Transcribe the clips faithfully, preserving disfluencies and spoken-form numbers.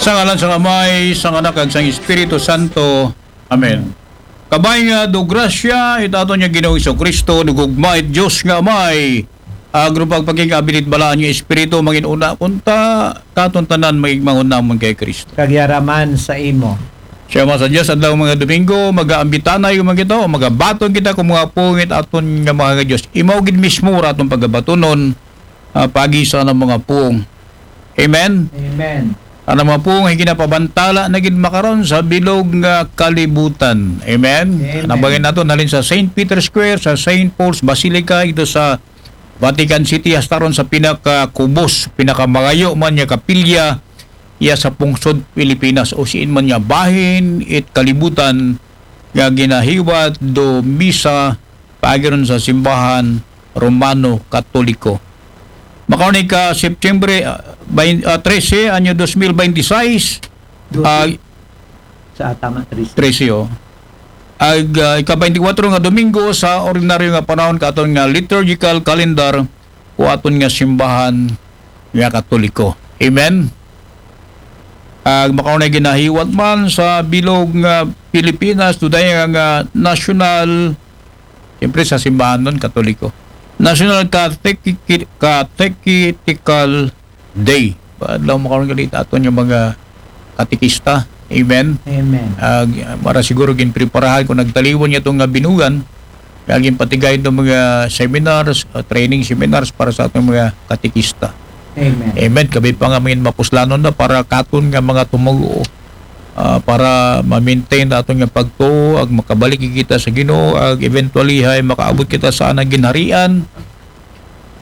Sa ngalan sa Amay, sa Anak, ag sa Espiritu Santo. Amen. Kabay nga do grasya it aton nga Ginoong Jesucristo, do gugma it Dios nga Amay, ag do pagpakig-abilit balaan nga Espiritu, mangin-una kunta katon tanan, mangigmangon namon kay Cristo. Kagyaraman sa imo. Siya man sa Dios, adlaw mga Domingo, mag-aambitanay man kita, o magabaton kita kung mga pungit aton nga mga Dios. Imaw gid mismo ra aton pagabatonon, ah, pagi sa anang mga pung. Amen? Amen. Anang mga pung, ay ginapabantala na gid makaron sa bilog nga kalibutan. Amen? Amen. Nabangin nato, nalin sa Saint Peter's Square, sa Saint Paul's Basilica, ito sa Vatican City, hasta ron sa pinakakubos, pinakamagayo man nga kapilya, iya sa pungsod Pilipinas, o siin man nga bahin, it kalibutan, nga ginahiwat do misa, paagi ron sa simbahan Romano Katoliko. Makaunay ka September, ah, bain-, ah, trese, anyo dos mil baynte sais, Doce. Ah, sa tama, trese. Trese, oh. Ag, ah, ika-baynte kwatro nga Domingo sa ordinaryo nga panahon katon nga liturgical calendar, o aton nga simbahan nga Katoliko. Amen? Ag makaunay ginahiwat man sa bilog nga Pilipinas, do daya nga national, siyempre sa simbahan nun, Katoliko. National Catecheti-, Catechetical Day. Adlaw makaron gali aton nga mga katekista. Amen? Amen. Ag, para siguro ginpreparahan kung nagtaliwan niya itong nga binugan, nga ginpatigay itong mga seminars, uh, training seminars para sa atong mga katekista. Amen. Amen. Kabay pa nga mga mapuslanon na para katon nga mga tumugo, ah, para ma-maintain na aton nga pagtuo, ag makabalik kita sa Ginoo, ag eventually hay makaabot kita sa anang ginharian,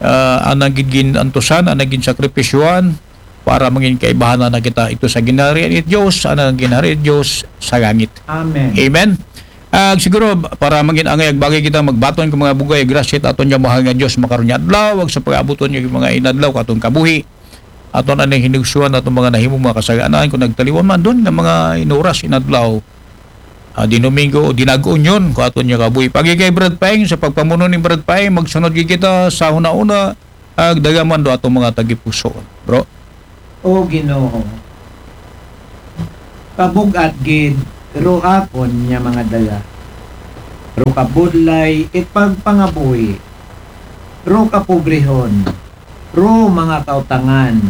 ah, anang gid gin-antusan, anang gin-sakripisyohan, para mangin kaibahan na kita ito sa ginharian it Dios, anang ginharian it Dios sa langit. Amen. Amen. Ag siguro, para mangin angay ag bagay kita magbaton kung mga bugay, grasya it aton nga mahal nga Dios makaron nga adlaw, ag sa pag-abuton nga mga inadlaw katon kabuhi. Aton anay hinigsuan aton mga nahimong mga kasalanan, kung nagtaliwan man dun nga mga inuras inadlaw, ah, din Domingo, o dinag-unyon, kung aton nga kabuhi. Pagi kay Brad Paeng, sa pagpamuno ni Brad Paeng, magsunod gid kita sa una-una, ag dagaman do atong mga tagipusoon. Bro? O Ginoo, kabug-at gid ro akon nga mga dala, ro kabudlay it pagpangabuhi, ro kapobrehon, ro mga kautangan,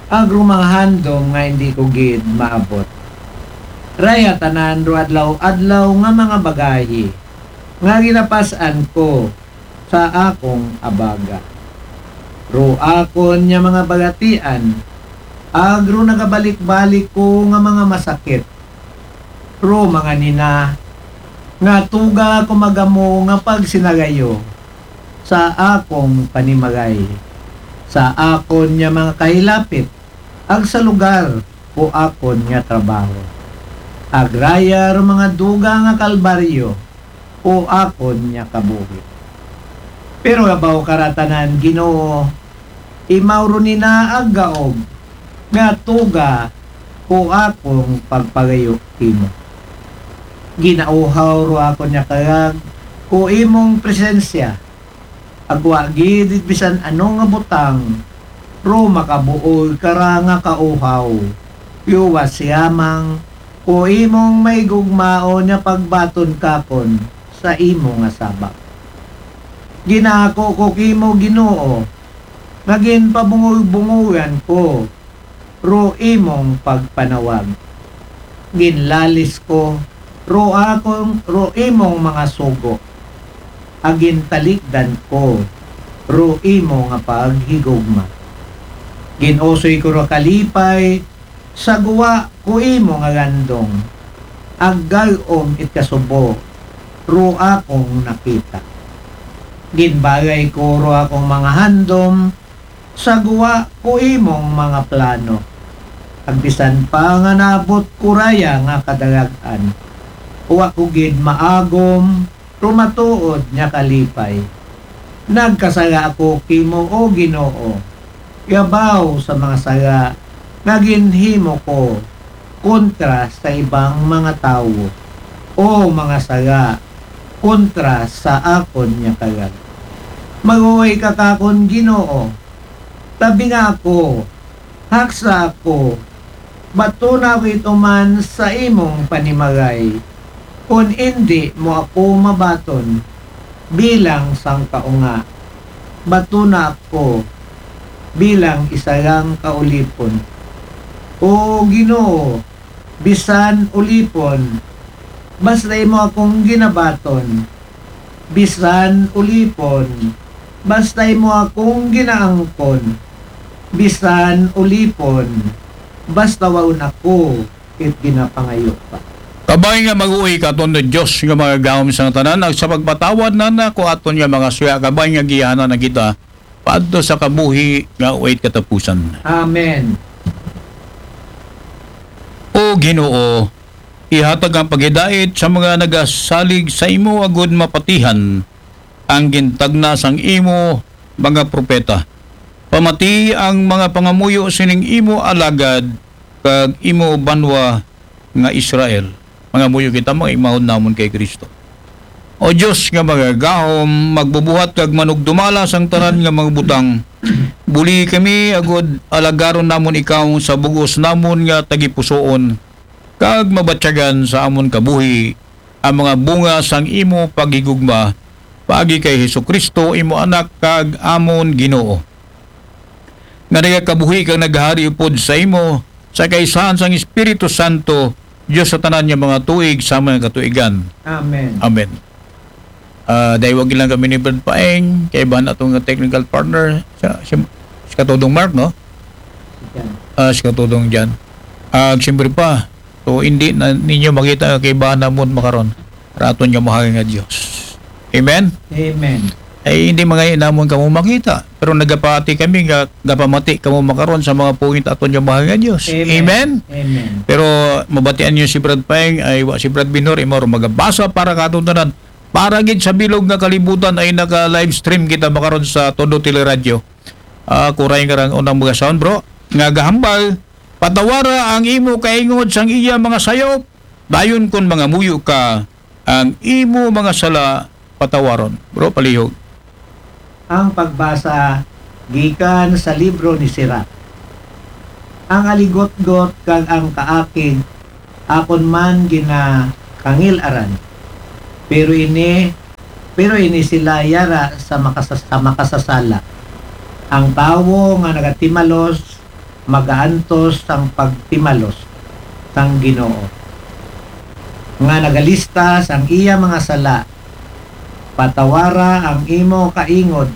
ag ro mga handom nga indi ko gid maabot. Raya tanan ro adlaw-adlaw nga mga bagahi nga ginapas-an ko sa akong abaga. Ro akon nga mga bagatian, ag ro nagabalik-balik ko nga mga masakit, ro mga nina nga tuga ko magamo nga pagsinagayo sa akong panimagay, sa akon nga mga kahilapit, ag sa lugar ko akon nga trabaho. Ag raya ro mga duga nga kalbaryo ko akon nga kabuhi. Pero abaw karatanan, Ginoo, imaw ro nina ag gaog nga tuga ko akong pagpagayo kimo. Ginauhaw ro akon nga karag ko imong presensya, ag wa gid it bisan ano nga butang ro makabuol kara nga kauhaw. Yuwa siya mang ko imong maigugmaon nga pagbaton kakon sa imo nga sabak. Ginako ko kimo, Ginoo, nga ginpabungol-bungolan ko ro imong pagpanawag. Ginlalis ko ro akong, ro imong mga sugo, ag gintalikdan ko ro imo nga paghigugma. Ginusoy ko ro kalipay sa guwa ko imo nga gandong, ag gal-om it kasubo ro akong nakita. Ginbagay ko ro akong mga handom sa guwa ko imong mga plano, ag bisan pa nga naabot ko raya nga kadarag-an, wa ko gid maagom ro matuod nga kalipay. Nagkasala ako kimo, O Ginoo, yabaw sa mga sala nga ginhimo ko kontra sa ibang mga tawo, o mga sala kontra sa akon nga karag. Maluway ka kakon, Ginoo, tabinga ako, haksa ako, Bato na ako ituman sa imong panimagay. Kun indi mo ako mabaton bilang sangkaunga, bato na ako bilang isarang kaulipon. O Ginoo, bisan ulipon, basta imo akong ginabaton. Bisan ulipon, basta imo akong ginaangkon. Bisan ulipon, basta waon ako, it ginapangayo pa. Kabay nga mag-uwi ka aton, Diyos nga magagahom sa tanan, ag sa pagpatawad na nako aton nga mga suya, kabay nga giyanan na kita paadto sa kabuhi nga way katapusan. Amen. O Ginoo, ihatag ang paghidait sa mga nagasalig sa imo, agud mapatihan ang gintagna sang imo mga propeta. Pamati ang mga pangamuyo sining imo alagad kag imo banwa nga Israel. Mangamuyo kita, mga imahon namon kay Kristo. O Dios nga magagahom, magbubuhat kag manugdumala sang tanan nga mga butang, buli kami agud alagaron namon ikaw sa bug-os namon nga tagipusoon, kag mabatyagan sa amon kabuhi ang mga bunga sang imo paghigugma, paagi kay Hesukristo, imo Anak kag amon Ginoo, nga nagakabuhi kag naghari upod sa imo, sa kaisahan sang Espiritu Santo, Dios sa tanan nga mga tuig sa mga katuigan. Amen. Amen. Ah, daywagon lang kami ni Brad Paeng, kaibahan atong technical partner, sa, si, si Katudong Mark, no? Yan. Ah, si Katudong Jan. Ah, siyempre pa, so, hindi na ninyo makita nga kaibahan namon makaron. Raton nga mahal nga Dios. Amen? Amen. Ay, hindi mga namon kamo makita. Pero nagapati kami nga gapamati kamo makaron sa mga pungit aton nga mahal nga Dios. Amen. Amen? Amen. Pero mabatian niyo si Brad Paeng, ay wa si Brad Binor, imo ro magabasa para katon tanan. Para gid sa bilog nga kalibutan ay naka-live stream kita makaron sa Todo Teleradyo. Ah, kuray nga rang unang mga sound, bro. Nga gahambal, patawara ang imo kaingod sang iya mga sayop. Dayon kon mangamuyo ka, ang imo mga sala patawaron. Bro, palihog. Ang pagbasa gikan sa libro ni Sirach. Ang aligotgot kag ang kaakig akon man ginakangil-aran. Pero ini, pero ini sila yara sa makasas-, sa makasasala. Ang tawo nga nagatimalos, magaantos sang pagtimalos sang Ginoo, nga nagalista sang iya mga sala. Patawara ang imo kaingod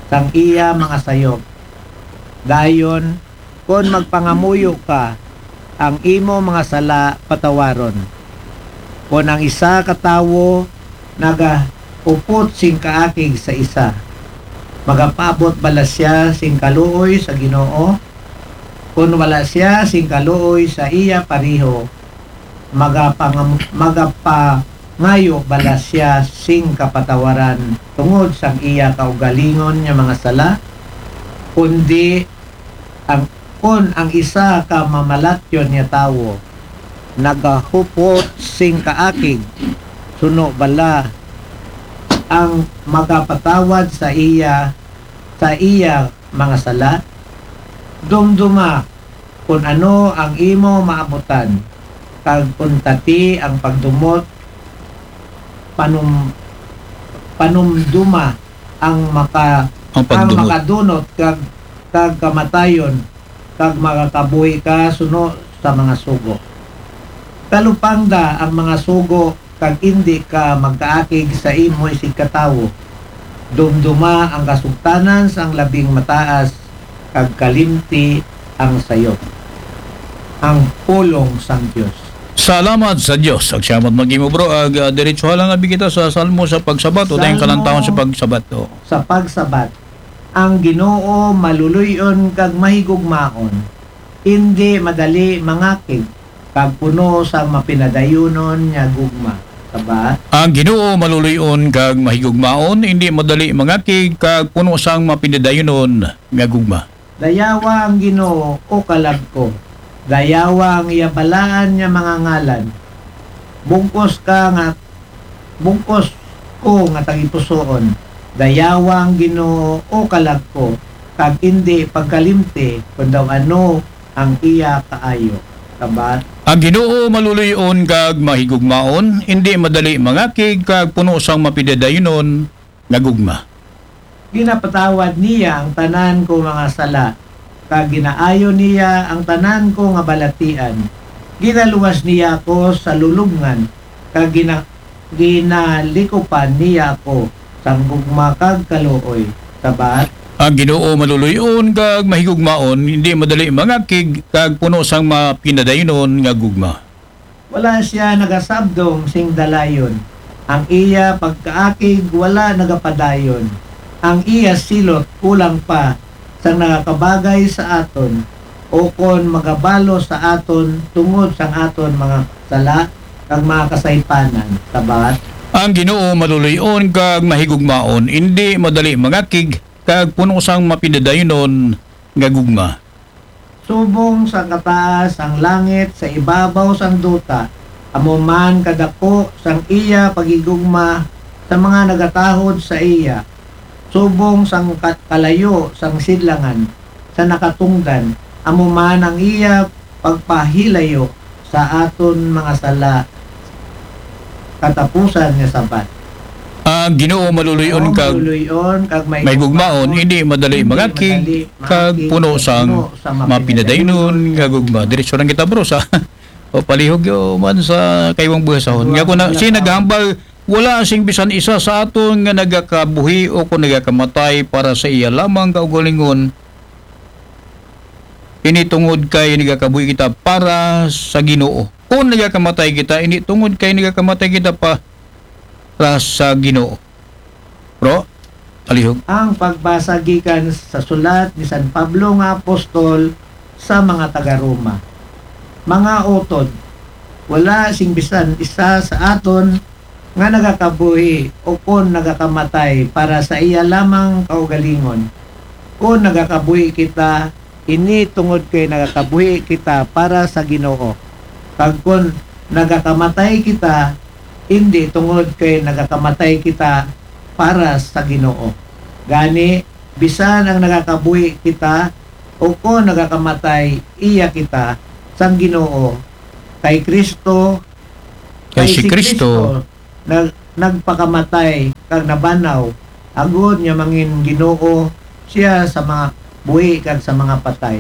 sang iya mga sayop. Dayon, kon magpangamuyo ka, ang imo mga sala patawaron. Kon ang isa ka tawo nagaupot sing kaakig sa isa, magapaabot bala siya sing kaluoy sa Ginoo? Kon wala siya sing kaluoy sa iya pareho, magapangam-, magapangayo bala siya sing kapatawaran tungod sang iya kaugalingon nga mga sala? Kundi ang, kon ang isa ka mamalatyon nga tawo nagahupot sing kaakig, suno bala ang magapatawad sa iya, sa iya mga sala? Dumduma kon ano ang imo maabutan, kag untati ang pagdumot, panum-, panumduma ang maka-, Ang ang pagdumot. Makadunot kag, kag kamatayon, kag makakabuhi ka suno sa mga sugo. Talupangda ang mga sugo, kag indi ka magkaakig sa imo isigkatawo. Dumduma ang kasugtanan sang labing mataas, kag kalimti ang sayop. Ang pulong sang Dios. Salamat sa Dios. Ag siya mat mag-imo, bro. Ag, ah, diretso lang abi kita sa Salmo sa pagsabat o tayong Salmo kalantawan sa pagsabat. O. Sa pagsabat. Ang Ginoo maluluy-on kag mahigugmaon, indi madali mangakig, kag puno sang mapinadayunon nga gugma. Sabat. Ang Ginoo maluluy-on kag mahigugmaon, indi madali mangakig, kag puno sang mapinadayunon nga gugma. Dayawa ang Ginoo, o kalag ko. Dayawa ang iya balaan nga mga ngalan. Bug-os ka nga, bug-os ko nga tagipusoon. Dayawa ang Ginoo, o kalag ko, kag indi pagkalimti kon daw ano ang iya kaayo. Sabat. Ang Ginoo maluluy-on kag mahigugmaon, indi madali mangakig kag puno sang mapidadaynon nga gugma. Ginapatawad niya ang tanan ko mga sala, kag ginaayo niya ang tanan ko nga balatian. Ginaluwas niya ako sa lulubngan, kag gina-, ginalikupan niya ako sang gugma kag kaluoy. Sabat. Ang Ginoo maluluy-on kag mahigugmaon, hindi madali mangakig kag puno sang mapinadaynon nga gugma. Wala siya nagasabdong sing dalayon. Ang iya pagkaakig wala nagapadayon. Ang iya silot kulang pa sang nakakabagay sa aton, o kon magabalo sa aton tungod sang aton mga sala kag mga kasaypanan. Sabat. Ang Ginoo maluluy-on kag mahigugmaon, indi madali mangakig kag puno sang mapinadaynon nga gugma. Subong sang kataas sang langit sa ibabaw sang duta, amo man kadako sang iya paghigugma sa mga nagatahod sa iya. Subong sang ka-, kalayo sang sidlangan sa nakatungdan, amo man ang iya pagpahilayo sa aton mga sala. Katapusan nga sabat. Ang Ginoo maluluy-on kag maluluy-on kag may gugmaon, hindi madali mangakig kag puno sang mapinadaynon nga gugma. Diretso lang kita, bro, sa o palihog yo man sa kaywang buhasahon. Nga ko na, si naghambal, wala sing bisan isa sa aton nga nagakabuhi o kung nagakamatay para sa iya lamang kaugalingon. Ini tungod kay nagakabuhi kita para sa Ginoo. Kung nagakamatay kita, ini tungod kay nagakamatay kita para sa Ginoo. Bro, palihog. Ang pagbasa gikan sa sulat ni San Pablo nga apostol sa mga taga Roma. Mga utod, wala sing bisan isa sa aton nga nagakabuhi o kon nagakamatay para sa iya lamang kaugalingon. Kon nagakabuhi kita, ini tungod kay nagakabuhi kita para sa Ginoo. Kag kon nagakamatay kita, indi tungod kay nagakamatay kita para sa Ginoo. Gani, bisan ang nagakabuhi kita o kon nagakamatay, iya kita sang Ginoo. Kay Kristo, kay si Kristo nag-, nagpakamatay kag nabanaw, agod nga mangin Ginoo siya sa mga buhi kag sa mga patay.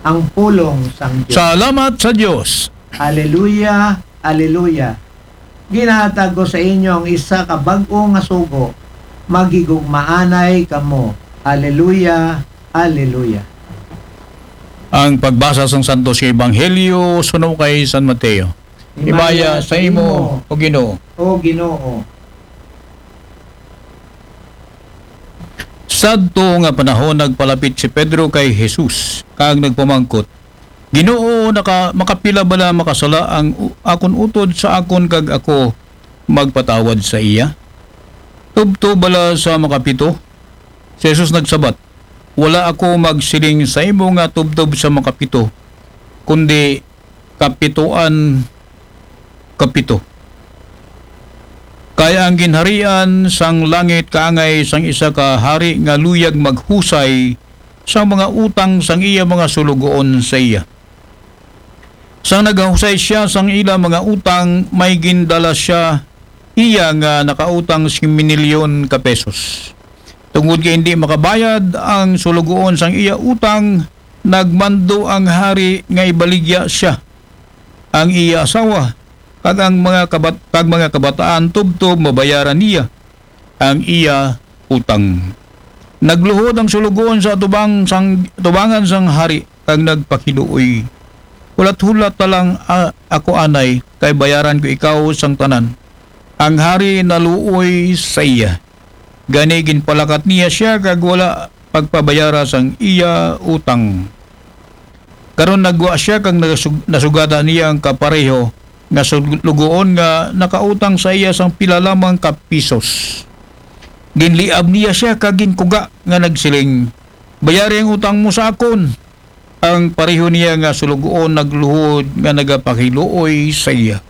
Ang pulong sang Dios. Salamat sa Dios. Aleluya, aleluya. Ginahatag ko sa inyo ang isa ka bag-o nga sugo, maghigugmaanay kamo. Aleluya, aleluya. Ang pagbasa sang Santos nga Ebanghelyo suno kay San Mateo. Himaya sa imo, O Ginoo. O Ginoo. Sadto nga panahon, nagpalapit si Pedro kay Jesus, kag nagpamangkot, "Ginoo, naka-, makapila bala makasala ang u-, akon utod sa akon kag ako magpatawad sa iya? Tubtob bala sa makapito?" Si Jesus nagsabat, "Wala ako magsiling sa imo nga tubtob sa makapito, kundi kapitoan kapito. Kay ang ginharian sang langit kaangay sang isa ka hari nga luyag maghusay sang mga utang sang iya mga sulugoon sa iya. Sang naghusay siya sang ila mga utang, may gindala siya iya nga nakautang sing minilyon ka pesos. Tungod kay hindi makabayad ang sulugoon sang iya utang, nagmando ang hari nga ibaligya siya, ang iya asawa, kag ang mga kabat-, kag mga kabataan tubtob mabayaran niya ang iya utang. Nagluhod ang sulugoon sa atubang sang, atubangan sang hari, kag nagpakiluoy, "Hulat-hulat na lang, a-, ako anay, kay bayaran ko ikaw sang tanan." Ang hari naluoy sa iya. Gani ginpalakat niya siya kag wala pagpabayara sang iya utang. Karon naggwa siya kag nasug-, nasugada niya ang kapareho nga sulugoon nga nakautang sa iya sang pila lamang ka pisos. Ginliab niya siya kag ginkuga nga nagsiling, "Bayari ang utang mo sa akon." Ang pareho niya nga sulugoon nagluhod nga nagapakiluoy sa iya,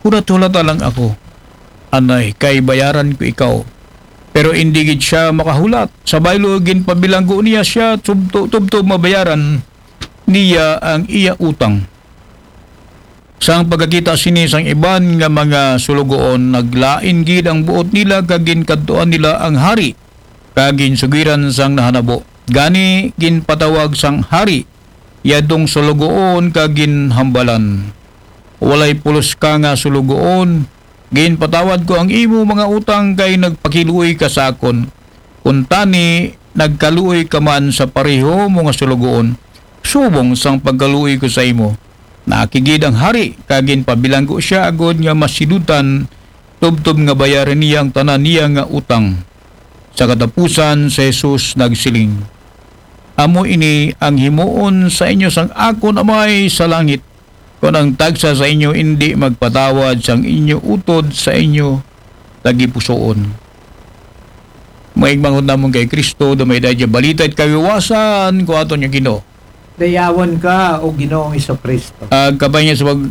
"Hulat-hulata lang ako, anay, kay bayaran ko ikaw." Pero indi gid siya makahulat. Sa baylo, ginpabilanggo niya siya tubto-, tubtob mabayaran niya ang iya utang. Sang pagkakita sini sang iban nga mga sulugoon, naglain gid ang buot nila, kag ginkadtuan nila ang hari, kag ginsugiran sang nahanabo. Gani, ginpatawag sang hari yadtong sulugoon kag ginhambalan, "Walay pulos ka nga sulugoon. Ginpatawad ko ang imo mga utang kay nagpakiluoy ka sa akon. Kuntani, nagkaluoy ka man sa pareho mo nga sulugoon, subong sang pagkaluoy ko sa imo." Naakig gid ang hari, kag ginpabilanggo siya agod nga masidotan, tubtob nga bayaran niya ang tanan niya nga utang. Sa katapusan, si Jesus nagsiling, "Amo ini ang himuon sa inyo sang akon Amay sa langit, kon ang tagsa sa inyo indi magpatawad sang inyo utod sa inyo tagipusoon." Mga igmanghod namon kay Kristo, dumay daydi balita it kawiwasan ko aton nga Ginoo. Dayawon ka, O Ginoong Iso Kristo. Ah, kabay niya sa pag,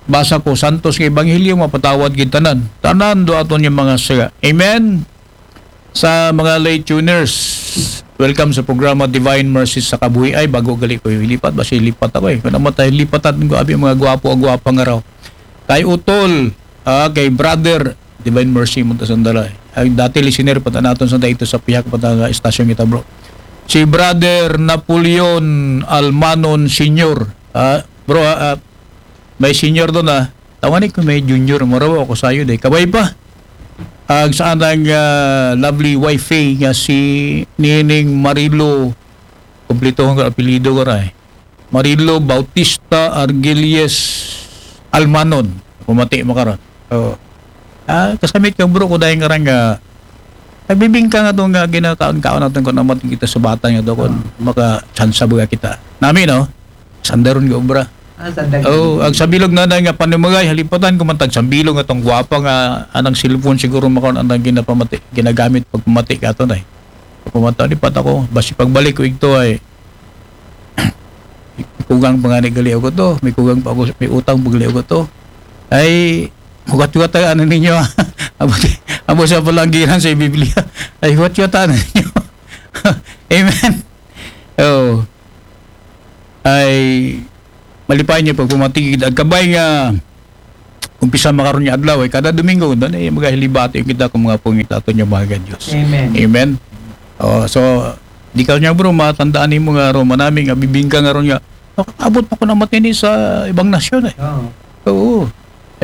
basa ko, santos nga ebanghelyo, mapatawad gid tanan. Tanan do aton nga mga sala. Amen. Sa mga late tuners, welcome sa programa Divine Mercy sa Kabuhi. Ay, bago gali ko yung lipat, basi lipat ako eh. Kung naman tayo lipatan ko, abi mga gwapo, gwapa nga raw. Kay Utol, ah, kay Brother, Divine Mercy mo ta sandala. Ay, dati listener pa ta naton sa dito sa pihak pa ta nga estasyon kita, bro. Si Brother Napoleon Almanon Senior. Ah, bro, ah, ah, may senior doon, ah. Tawani ko may junior, marawa ako sayo, day. Kabay pa. Ag sa anang, ah, lovely wifey nga si Nining Marilo, kumplito ang apelyido ko ra, eh. Marilo Bautista Argilies Almanon. Pumati mo karon. Oo. Ah, kasamit ka, bro, ko dahil nga rang, ah, nagbibingka nga to nga ginakaon-kaon natin kung naman kita sa bata nga to, kung Ah. makatsansa ba kita. Nami, no? Sandaron nga obra. Ah, sandaron. Oh, ang sa bilog na nga panumagay, halipatan ko man tag sambilog nga tong gwapa nga anang cellphone siguro makaon ang ginapamati, ginagamit pagpamati ka to, nay. Pagpamati, di pa ako, basi pagbalik ko igto ay, may kugang pa nga ni gali ako to, may kugang pa ako, may utang pa gali ako to. Ay, hugat-hugat ang ano ninyo, ah. Abo, abo sa palanggiran sa Biblia. Ay, hugat-hugat ang ano ninyo. Amen. Oh. Ay, malipay niyo pagpamatigid. Ag kabay nga, umpisa makaron nga adlaw, ay kada Domingo, doon ay magahilibati yung kita kung mga pungit ato niya, mga Diyos. Amen. Amen. Oh, so, di ka niya, bro, matandaan mo nga, ro, manami nga, bibingka nga ron nga, abot pa ko na matini sa ibang nasyon, eh. Oo. Oo.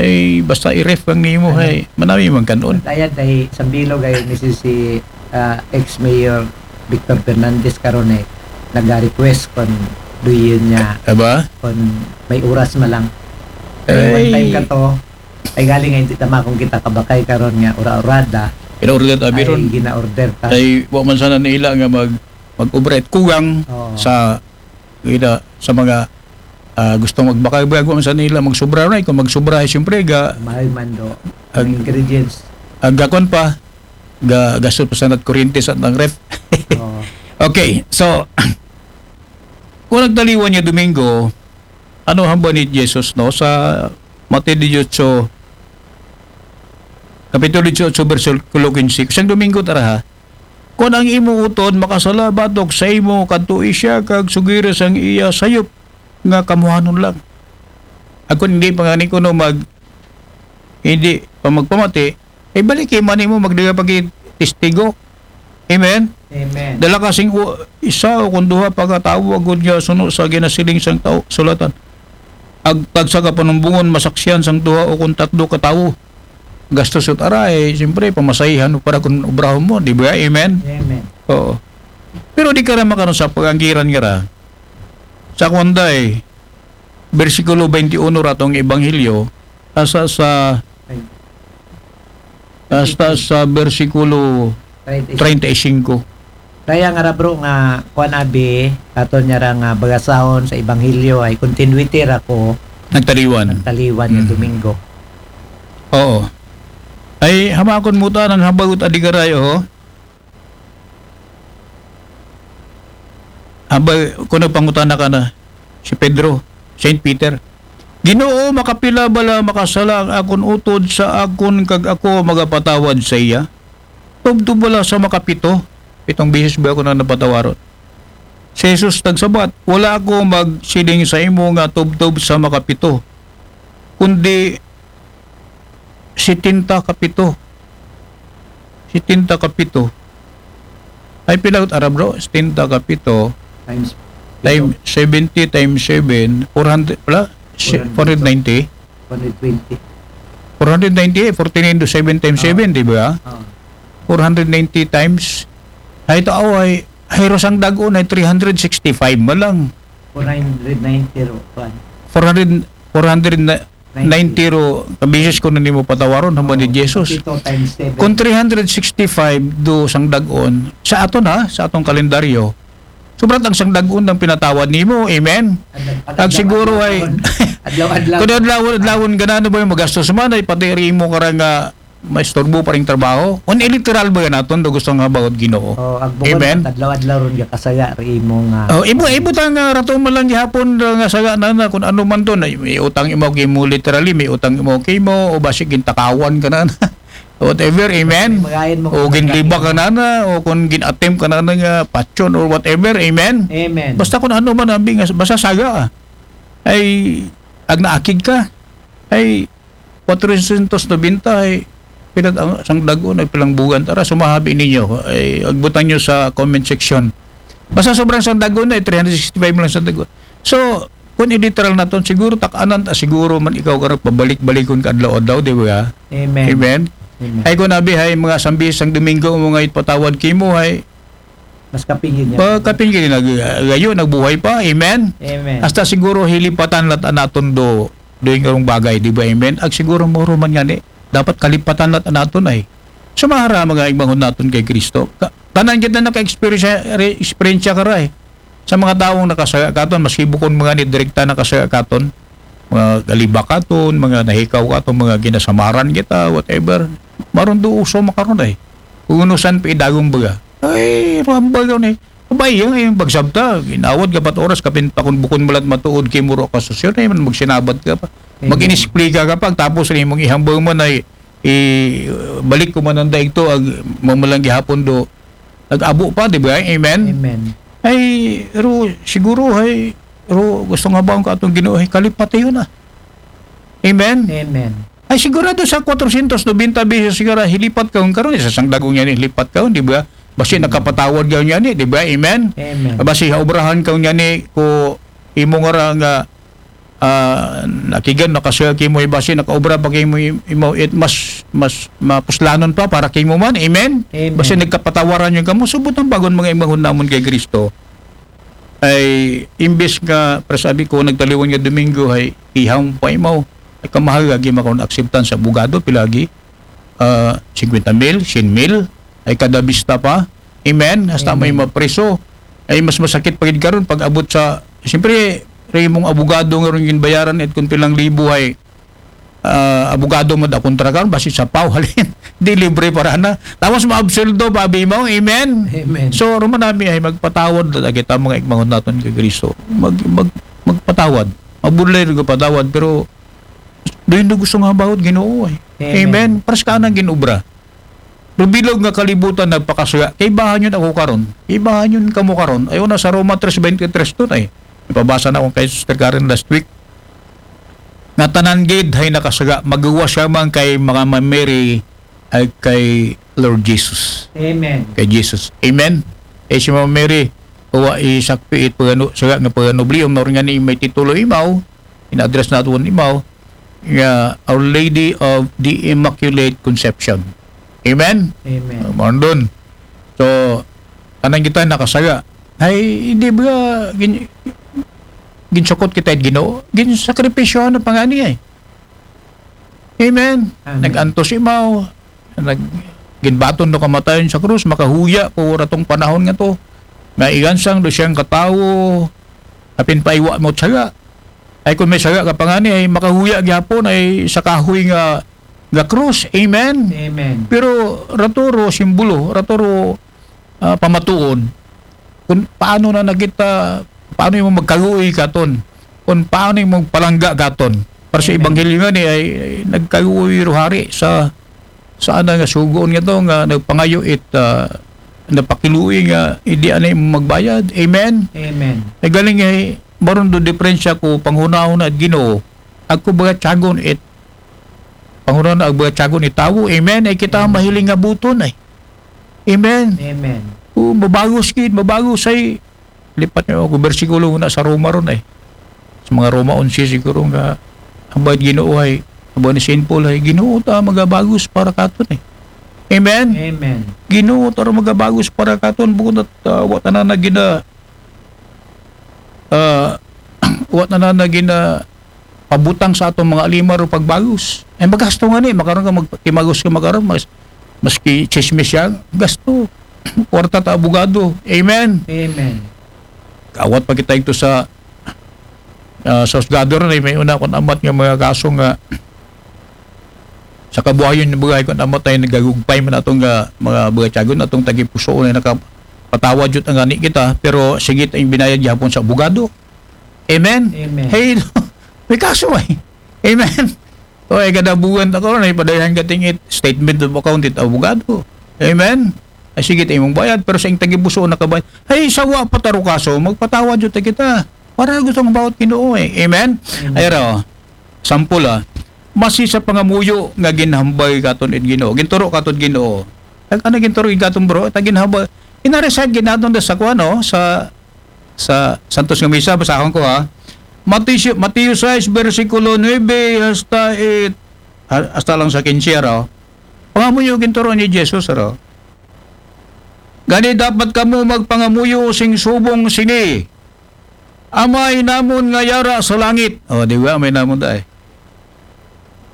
Ay, basta i-ref ang nimo, Ano? Ay, manami man kanon. At ayat ay sambilog ay ni si, si, ah, ex-mayor Victor Fernandez karon eh, nag-request kon duyon niya, Aba? Kon may oras man lang. Ay. One time ka to, ay galing nga hindi tama kung kita kabakay karon nga ura-urada. Gina-order ta, ay, Biron. Gina-order ta. Ay, wa man sana nila nga mag-, mag-obra at kugang Oo. sa, gina-, sa mga, ah, gustong magbakay-bakay, wa man sana nila magsubra na, kung magsubra, ay, siyempre, ga-, Mahal man do. Ag-, Ang ingredients. Agakon pa, ga-, gastos pa sana at kuryente sa atang ref. Oo. Okay, so, kung nagtaliwan niya Domingo, ano hamba ni Jesus, no? Sa Mateo dieciocho, Kapitulo dieciocho, bersikulo quince. Siyang Domingo, tara ha. Kung ang imo utod makasala batok sa imo, kadtoi siya, kag sugira sang iya sayop nga kamuhanon lang. Ag kun hindi pa nga ni kuno mag-, hindi pa magpamati, ay, baliki man nimo, magdaga pa gid testigo. Amen? Amen. Dala ka sing u-, isa o kung duha pa ka tawo, agud nga suno sa ginasiling sang tao, sulatan. Ag tagsa ka panumbungon, masaksihan sang duha o kung tatlo ka tawo. Gastos ut ara, eh, siyempre, pamasahihan mo para kung obrahon mo, di ba? Amen? Amen. Oo. Pero di ka ra makaron sa pag-anggiran nga ra. Sa kwan day, bersikulo twenty-one ra tong Ebanghelyo, asa sa, Ay. Hasta sa bersikulo Treinta y cinco. Treinta y cinco. Kaya nga ra, bro, nga kuan abi, aton niya ra nga bagasahon sa Ebanghelyo ay continuity ra ko Nagtaliwan. Nagtaliwan nga Mm. Domingo. Oo. Ay, hamakon mo ta ng habagot adigaray, oh. Abay, kuno pangutana ka na si Pedro, Saint Peter, "Ginoo, makapila bala makasala ang akon utod sa akon kag ako magapatawad sa iya? Tubtob bala sa makapito?" Pitong beses ba ako na napatawaron? Si Jesus nagsabat, "Wala ako magsiling sa imo nga tubtob sa makapito. kundi setenta ka pito. Setenta ka pito. Ay, pila ut ara, bro? Setenta ka pito Times time seventy times seven, four hundred, wala? Si- four hundred ninety. One hundred twenty. Four hundred ninety, forty-nine to seven times Ah. seven, di ba? Ah. Four hundred ninety times. Ay, ito, aw, ay, ay, ro sangdag-on ay three hundred sixty-five man lang. Four hundred ninety ro. Kuan. Four hundred, four hundred ninety ro, kabisis ko na nimo patawaron, hambal ni Jesus. Pito times seven. Kung three hundred sixty-five do sangdag-on, sa aton ha, sa atong kalendaryo, sobra ang sangdag-on ang pinatawad nimo. Amen? Adlaw- Ag siguro ay, adlaw-adlaw. Kung adlaw-adlawon ka na, ano ba yung magastos man, ay pati rin mo karang nga maistorbo pa rin trabaho. On literal ba yan aton? Do gusto nga about Ginoo. Oh, ag bukod Amen. Adlaw-adlaw ron gakasaya ri imo nga. Oh, ibu ibu ta nga rato man lang gihapon nga saya na na kung ano man to na may utang imo kay mo literally, may utang imo kay mo o basi gintakawan ka na na. Whatever, amen. Magayon mo O kung ginliba ka na na o kung gin-attempt ka na na nga patyon or whatever, amen. Amen. Basta kung ano man abi nga basta saya ka. Ay ag naakig ka. Ay four hundred ninety ay pila ang sang dagon ay pilang bugan tara sumahabi ninyo ay agbutang nyo sa comment section. Basta sobrang sang dagon ay three hundred sixty-five lang sang dagon. So kung i-literal naton siguro tak-anan ta siguro man ikaw karang pabalik-balikon ka adlaw-adlaw, di ba? Amen. Amen. Amen. Ay kung abi hay mga sambis sang Domingo mo nga ipatawad kimo hay Mas kapingin niya. Pagkapingin na gayo nagbuhay pa. Amen. Amen. Hasta siguro hilipatan lat anaton do do yung bagay, di ba? Amen. Ag siguro moro man nga ni dapat kalipatan lat anaton ay sumahara mga igbangon naton kay Kristo. Ka- Tanan kita naka-experience re- experience ka ra eh. Sa mga taong nakasaya katon, maski bukon mga ni direkta nakasaya katon, mga galiba katon, mga nahikaw katon, mga ginasamaran kita, whatever. Maron do uso makaron ay. Unusan pa idagong baga. Ay, rambal yun eh. Abay, yung, yung bagsabta, ginawad ka pat oras, kapin pa kung bukon malat matuod kay muro ka susyon, ay man magsinabat ka pa. Amen. Mag-inisplika ka pa, tapos rin mong ihambal mo na i, i- balik ko man ang daig to, ag, mamalang gihapon do, nag-abo pa, di ba? Amen? Amen. Ay, ro, siguro, ay, ro, gusto nga ba ang katong Ginoo, ay, kalipati yun ah. Amen? Amen. Ay, sigurado sa four hundred ninety bisis siguro, hilipat ka kung karon, isa sang dagong yan, hilipat ka, di ba? Basi nakapatawad ka yan, di ba? Amen? Amen. Basi haubrahan ka yan, ko imo nga ra nga ah, nakigan, nakasaya kimo, basi nakaobra pa kimo, imo, it mas, mas mapuslanon pa para kimo man. Amen? Amen. Basi nagkapatawaran yung kamo, subot ang bagon mga imanghon namon kay Kristo. Ay, imbes nga, para sabi ko, nagtaliwan nga Domingo, ay, ihang pa imaw. Ay, kamahal lagi makaon acceptance sa abogado, pilagi. Ah, fifty mil, cien mil, ay kada bista pa. Amen? Hasta may Amen. mapriso. Ay, mas masakit pa gid karon pag abot sa, siyempre, ray mong abogado nga ron ginbayaran at kung pilang libo ay ah, abogado mo da kontra karon, basi sa pau, halin. Di libre para na. Tapos maabsueldo pa, abi mo. Amen? Amen. So, ruman nami ay magpatawad na kita mga igmangon naton kay Kristo. Mag, mag, magpatawad. Mabudlay rin patawad, pero doon na gusto nga about Ginoo ay. Amen. Amen. Paras ka nang ginobra. Rubilog nga kalibutan nagpakasuya. Kay bahan yun ako karon. Kay bahan yun kamo karon. Ayaw na sa Roma three twenty-three to na eh. Ipabasa na akong kay Sister Karen last week. Nga tanan gid hay nakasuya. Magawa siya man kay mga Mary ay kay Lord Jesus. Amen. Kay Jesus. Amen. Eh si Mama Mary, uwa isakpi it pagano, suya nga pagano bliyong, nga ni may titulo imaw, in-address nato imaw, nga Our Lady of the Immaculate Conception. Amen? Amen. Mao dun. So, anang kita nakasaya. Ay, hindi ba gin, ginsukot kita it Ginoo? Ginsakripisyo na pangani ay. Amen. Amen. Nag-antos imaw. Nag, ginbaton do kamatayon sa krus, makahuya ko ratong panahon nga to. Nga igansang do siyang katawo, apin paiwa mo saga. Ay kung may saga ka pangani, ay makahuya gyapon ay sa kahoy nga nga krus. Amen. Amen. Pero ratoro simbolo, ratoro ah, pamatuon kung paano na nakita, paano yung magkaluoy katon, kung paano yung magpalangga katon. Para sa Amen. Ebanghelyo nga ni ay, ay nagkaluoy ruhari sa sa ana nga sugoon nga to nga nagpangayo it ah, napakiluoy nga hindi anay magbayad. Amen. Amen. Ay galing ay maron do diferensya ko panghunahon at Ginoo. Ako baga tiyagon it, panguran na, baga tiyagon it tawo. Amen. Ay kita mahiling nga buton ay. Amen. Amen. O, mabagos gid, mabagos ay. Lipat niyo ako, bersikulo na sa Roma ron ay. Sa mga Roma onse siguro nga, ang bayad Ginoo ay, ang bayad ni Saint Paul ay, Ginoo ta, magabagos para katon ay. Amen? Amen. Ginoo ta, magabagos para katon, bukod at uh, wa tanan na gina, uh, wa tanan na gina, pabutang sa atong mga alimar o pagbagos. Ay magasto nga ni, makaron ka magtimagos ka makaron, mas, maski chismis siya, gasto. Kwarta ta abogado. Amen. Amen. Kawat pa kita ito sa uh, sa husgado ron ay may una kung amat nga mga kaso nga sa kabuhayon ni bagay kung amat ay nagagugpay man atong uh, mga bagay tiyagon atong tagipusoon ay nakapatawad jud ang ani kita pero sigit ang binayad gihapon sa abogado. Amen? Amen. Hey, may kaso ay. Amen? O ay kada buwan ta karon ay padayon ka ting it statement of account it abogado. Amen? Ay sige ta imong bayad pero sa ing tagipusoon nakabayad. Ay sawa pa taro kaso magpatawad jud ta kita. Para gusto nga bawat Ginoo eh. Amen? Amen. Ay raw. Sampol ah. Masi sa pangamuyo nga ginhambay katon it Ginoo. Ginturo katon Ginoo. Ang ano ginturo katon bro? Ta ginhambay. Inareside ginaton da sa kuan no sa sa Santos nga Misa basahon ko ha. Mateo, Mateo sais bersikulo nuebe hasta it ha- hasta lang sa kinse raw. Pangamuyo ginturo ni Jesus raw. Gani dapat kamo magpangamuyo sing subong sini. Amay namon nga yara sa langit. O, di ba? Amay namon dai.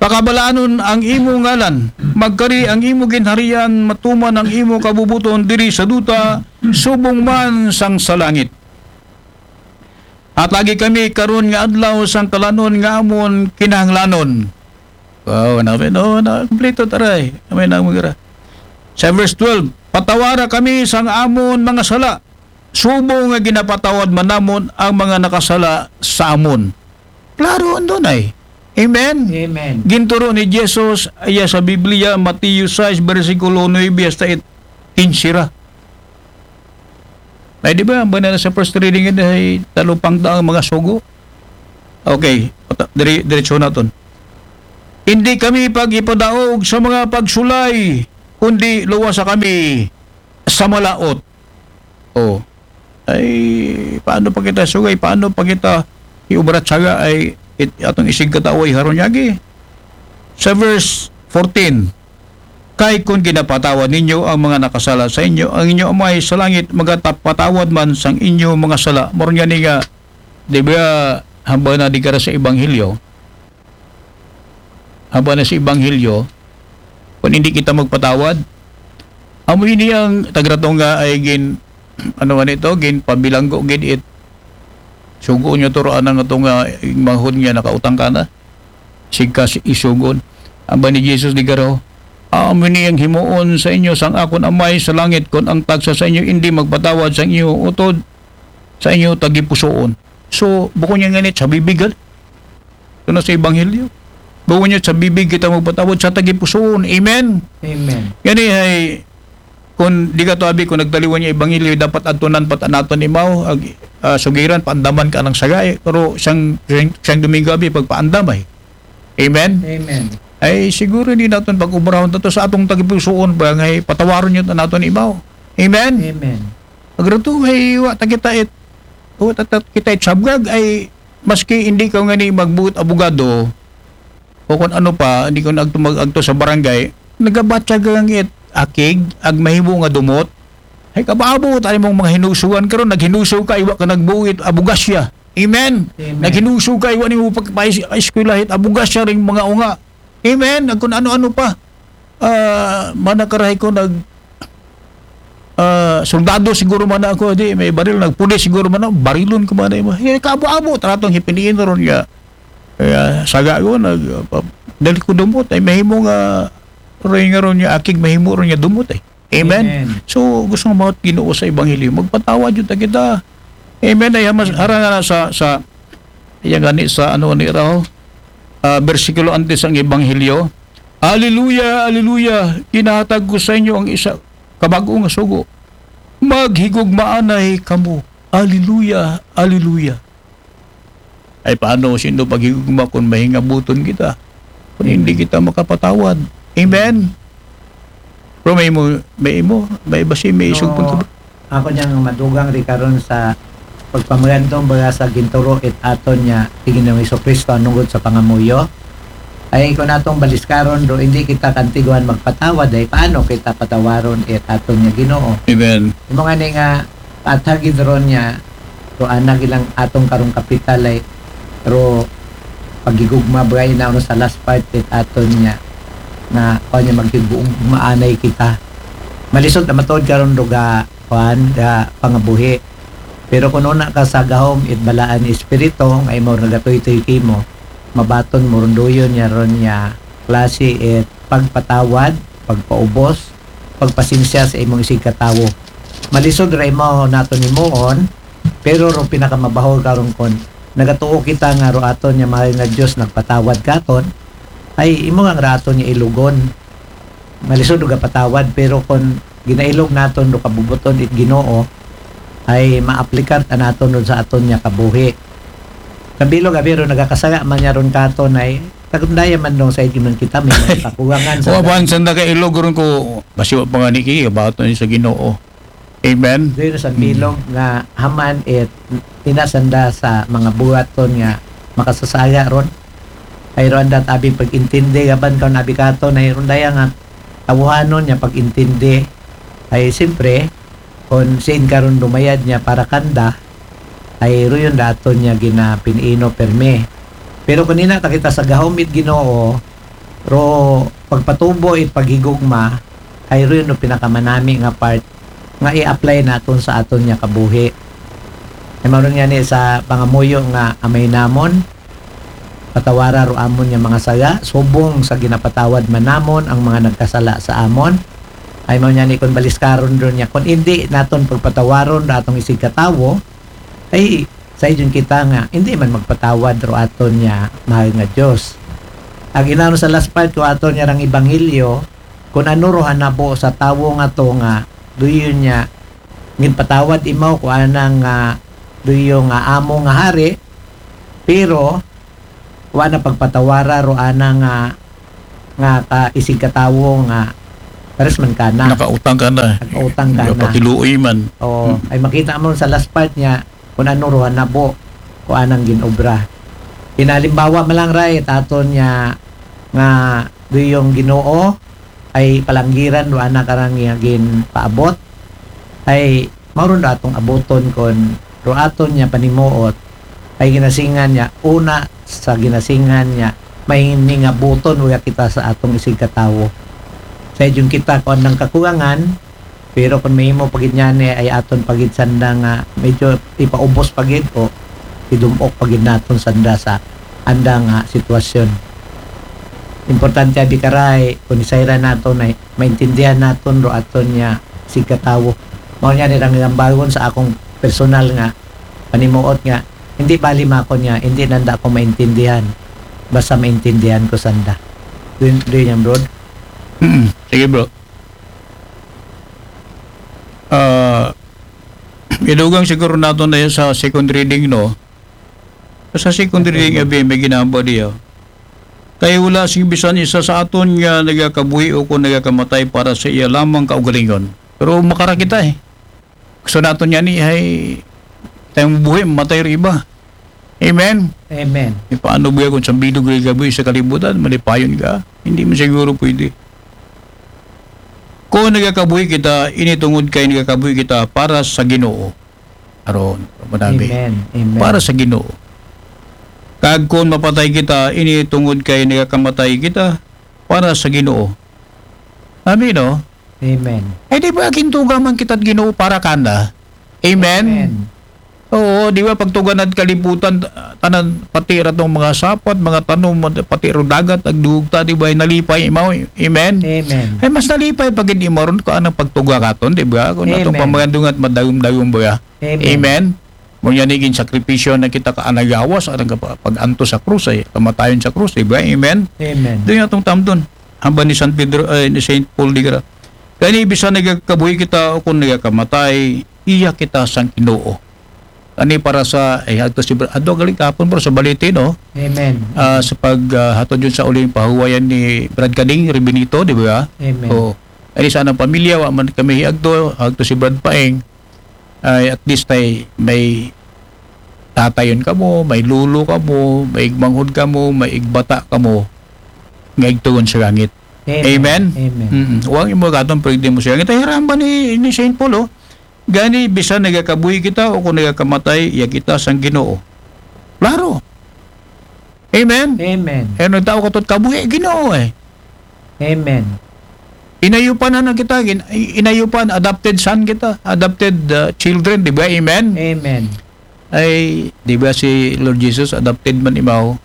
Pakabalanon ang imo ngalan. Magkari ang imo ginharian, matuman ang imo kabubuton diri sa duta, subong man sang sa langit. Hatagi kami karon nga adlaw sang kalanon nga amon kinahanglanon. Wow, na no, na kompleto taray. Amay na mo gira. Sa verse twelve, patawara kami sang amon mga sala. Subo nga ginapatawad man namon ang mga nakasala sa amon. Klaro andon ay. Amen. Amen. Ginturo ni Jesus iya sa Biblia, Mateo sais bersikulo nuebe hasta it kinsira. Ay di ba, ang banal sa first reading yun ay talupang daang mga sugo. Okay, pata- dire, diretso naton. Hindi kami pag-ipadaog sa mga pagsulay, kundi luwasa kami sa malaot. Oh. Ay, paano pa kita sugay? Paano pa kita iubrat saga ay it, atong isig katawa iharon yagi? Sa verse fourteen, kay kun ginapatawad ninyo ang mga nakasala sa inyo, ang inyo amay sa langit magatapatawad man sang inyo mga sala. Moron gani nga, di ba, hambal na di kara sa ebanghelyo? Hambal na sa ebanghelyo, kung hindi kita magpatawad, amo ini ang tagrato nga ay gin, ano nga nito, gin pabilanggo gid it. Sugo nyo to, anang ito nga, manghod nga nakautang ka na. Sigkas isugon. Aba ni Jesus di garo, amo ni ang himuon sa inyo sang akon amay sa langit kon ang tagsa sa inyo hindi magpatawad sang inyo utod sa inyo tagipusoon. So, bukon niya nganit sa bibig, ito na sa ebanghelyo. Bukon niya sa bibig kita magpatawad sa tagipusoon. Amen? Amen. Gani ay, kung di ka to abi, kung nagtaliwan niya ebanghelyo, dapat adtunan pat naton imaw, ag, ah, sugiran, paandaman ka ng sagay. Pero siyang, siyang, siyang Domingo abi, pagpaandam ay. Amen? Amen. Ay siguro hindi natin pag-ubrahon to sa atong tagipusoon ba ngay patawaron yun natin imaw. Amen? Amen. Agratuhay wa ta kita it wa ta ta- kita it sabgag ay maski hindi ka ngani magbuot abogado o kung ano pa, hindi ka nagtumag agto sa barangay, nagabatyagang it akig ag mahimo nga dumot. Ay kabaabo tayo mong mga hinusugan karon naghinuso ka iwa ka nagbuo it abogasya. Amen. Amen. Naghinuso ka iwa nimo pagpaeskwela it abogasya ring mga unga. Amen. Ag kung ano-ano pa. Ah, mana karahay ko nag ah, soldado siguro man ako di may baril nagpulis siguro man ako barilon ko man mo. Eh, kaabo-abo tratong hipiniin ron nga. Kaya saga ko nag ah, pa- dali ko dumot ay mahimo nga rin nga ron nga akig mahimo ron nga dumot eh. Amen. Amen. So gusto nga mga Ginoo sa ebanghelyo magpatawad jud ta kita. Amen. Ay mas harang nga na sa sa iya gani sa ano ni raw ah, bersikulo antes ang ebanghelyo. Hallelujah, hallelujah. Ginahatag ko sa inyo ang isa kabag-o nga sugo. Maghigugmaanay kamo. Hallelujah, hallelujah. Ay paano, sino paghigugma kung mahingabuton kita? Kung hindi kita makapatawad. Amen? Pero may imo, may imo, may basi, may isog punto. Ako niyang madugang ri karon sa pagpamagantong baga sa ginturo it aton niya ti Ginoong Hesus Kristo anungod sa pangamuyo. Ay kung atong baliskaron do hindi kita kantiguan magpatawad, ay paano kita patawaron it aton niya Ginoo? Amen. Imo nga ni nga pathagid ron niya, do anag ilang atong karong kapital ay ro pagigugma bagay na ano sa last part it aton niya na kuan niya maghibuong maanay kita. Malisod na matuod karon do ga kuan ga pangabuhi. Pero kung una ka sa gahom it balaan ni Espiritu nga imo nagatuytoy kimo, mabaton mo runduyon niya ron niya klase it pagpatawad, pagpaubos, pagpasensya sa imong isig katawo. Malisod ra imo naton himuon, pero ro pinakamabaho karon kon nagatuo kita nga ro aton niya mahal nga Dios nagpatawad katon, ay imo nga ra aton niya ilugon. Malisod og patawad, pero kon ginailog naton do kabubuton it Ginoo, ay maaplikar ta naton ron sa aton niya kabuhi. Kabilog abi ron nagakasala man niya ron katon ay tagundaya man dong sa man kita may mga kakulangan sa Wa ba ang sanda ka ilog ron ko, basi wa pa nga niki, about sa Ginoo. Amen? Doon sa bilog nga haman it ina sanda sa mga buhaton nga makasasaya ron. Ay ron dat abi pag-intindi gaban kaon abi katon ay ron daya nga tawhanon niya pag-intindi. Ay siyempre kon siin karon dumayad niya para kanda ay ruyon daton niya ginapinino permi. Pero kanina ta kita sa gahom it Ginoo ro pagpatubo it paghigugma ay ruyon no pinakamanami nga part nga i-apply naton sa aton niya kabuhi. Ay mao ron nga ni sa pangamuyo nga Amay namon, patawara ro amon nga mga sala, subong sa ginapatawad man namon ang mga nagkasala sa amon. Ay mao niya ni kun baliskaron ron niya, kun hindi naton pagpatawaron ra atong isig katawo, ay sa iyon kita nga hindi man magpatawad ro aton niya mahal nga Dios. Ag inano sa last part ko aton niya rang ebanghelyo, kun ano ro hanabo sa tawo nga to nga duyon niya ginpatawad imaw ko anang nga duyo nga amo nga hari, pero wa na pagpatawara ro ana nga nga ka isig katawo nga pares man kana. Nakautang ka na. Nakautang ka na. Patiluoy man. Oo, ay makita mo sa last part niya kung ano ro nabo ko anang ginobra. Pinalimbawa man lang right aton niya nga duyong Ginoo ay palanggiran do ana karang nga ginpaabot ay mao ron do atong abuton kon ro aton niya panimuot ay ginasingan niya una sa ginasingan niya may ningabuton uya kita sa atong isig katawo. Sa idyong kita kon nang kakulangan, pero kon mahimo pagid niya ni ay aton pagid sanda nga medyo ipaubos pagid o idumok pagid naton sanda sa anda nga sitwasyon. Importante abi karay kun isayra naton ay maintindihan naton ro aton niya sigkatawo. Mao niya ni rang lambagon sa akong personal nga panimuot nga hindi bali makon niya, hindi nanda ako maintindihan. Basta maintindihan ko sanda. Do you, do you, bro? Mm, sige, bro. Ah, idugang siguro naton na sa second reading, no? Sa second reading, abi, may ginamba diya. Kay wala sing bisan isa sa aton nga nagakabuhi o kung nagakamatay para sa iya lamang kaugalingon. Pero makara kita eh. Gusto naton niya ni ay tayong buhi, matay ro iba. Amen? Amen. E paano ba kung sa bilog rin gabi sa kalibutan, malipayon ka? Hindi mo siguro pwede. Kung nagakabuhi kita, ini tungod kay nagakabuhi kita para sa Ginoo. Aron, madami. Amen. Amen. Para sa Ginoo. Kag kung mapatay kita, ini tungod kay nagakamatay kita para sa Ginoo. Amen, no? Amen. Eh, di ba, gintuga man kita Ginoo para kanda? Amen? Amen. Oo, di ba, pagtugan at kalibutan, tanan, pati ra tong mga sapat, mga tanom, pati ro dagat, agdugta, di ba, nalipay, imaw, amen? Amen. Ay, mas nalipay pag hindi maron ko anong pagtuga katon, di ba? Kung atong Amen. pamagandungan at madagom-dagom ba? Amen. Amen? Mo niya niging sakripisyo na kita ka anagawas, anang kapa-, pag-anto sa krus, ay, kamatayon sa krus, di ba? Amen? Amen. Doon atong tamdon. Hamba ni San Pedro, ay, ni Saint Paul di kara. Kaya ni bisan nagakabuhi kita o kung nagakamatay, iya kita sang Ginoo. Ani para sa, eh, adto si Bra-, adto gali kahapon, bro, sa Balete, no? Amen. Ah, sa pag, ah, hatod yun sa uling pahuwayan ni Brad Kading Ribinito, di ba? Amen. Oo. Ani sa anang pamilya, wa man kami hiagto, agto si Brad Paeng. Ay, at least ay may tatayon kamo, may lulo kamo, may igmanghod kamo, may igbata kamo, nga igtugon sa langit. Amen? Amen. Mm. Wa ang imo katon pwede mo sa langit. Ay, haramba ni, ni Saint Paul, oh. Gani, bisan nagakabuhi kita o kung nagakamatay, iya kita sang Ginoo. Klaro. Amen? Amen. Eh, nagtao ka to't kabuhi, Ginoo eh. Amen. Inayupan na na kita, gin-, inayupan, adopted son kita, adopted uh, children, di ba? Amen? Amen. Ay, di ba si Lord Jesus, adopted man imaw?